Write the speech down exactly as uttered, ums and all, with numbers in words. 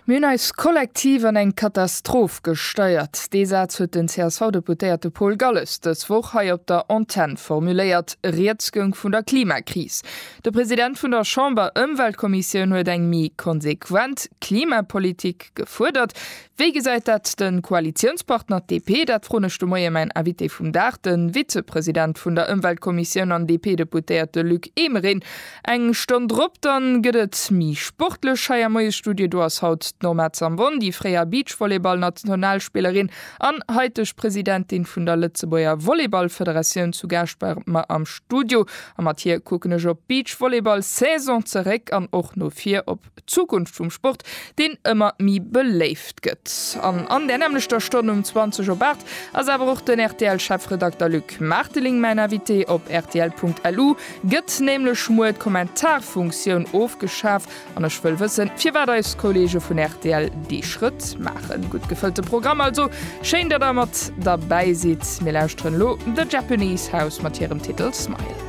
Mir hunn eis kollektiv an eng Katastroph gesteiert. Dee Saz huet den C S V-Deputéierte Paul Galles dës Woch hei op der Antenn formuléiert. Rieds goung vun der Klimakris. De President vun der Chamber-Ëmweltkommissioun huet eng méi konsequent Klimapolitik gefuerdert. Wéi gesäit dat de Koalitiounspartner D P? Dat froen ech de Moie mäin Invité vum Dag, de Vizepresident vun der Ëmweltkommissioun an D P-Deputéierte Luc Emering. Eng Stonn drop dann gëtt et méi sportlech hei am Moiesstudio. Do ass haut d'Norma Zambon, déi fréier Beachvolleyball-Nationalspillerin an haiteg Presidentin vun der Lëtzebuerger Volleyballfederatioun, zu Gaascht bei mer am Studio. A mat hir kucken ech op d'Beachvolleyball-Saison zeréck an och no vir op d'Zukunft vum Sport, deen ëmmer méi beléift gëtt. An an der nämmlechter Stonn um zwanzeg op aacht ass awer och den R T L-Chefredakter Luc Marteling mäin Invité. Op R T L Punkt L U gëtt nämlech muer d'Kommentarfunktioun ofgeschaf an ech wëll wëssen, firwat eis Kolleege vun R T L dee Schrëtt maachen. Gutt gefëllte Programm also. Schéin, datt der mat derbäi sidd. Mir lauschteren elo The Japanese House mat hirem Titel Smile.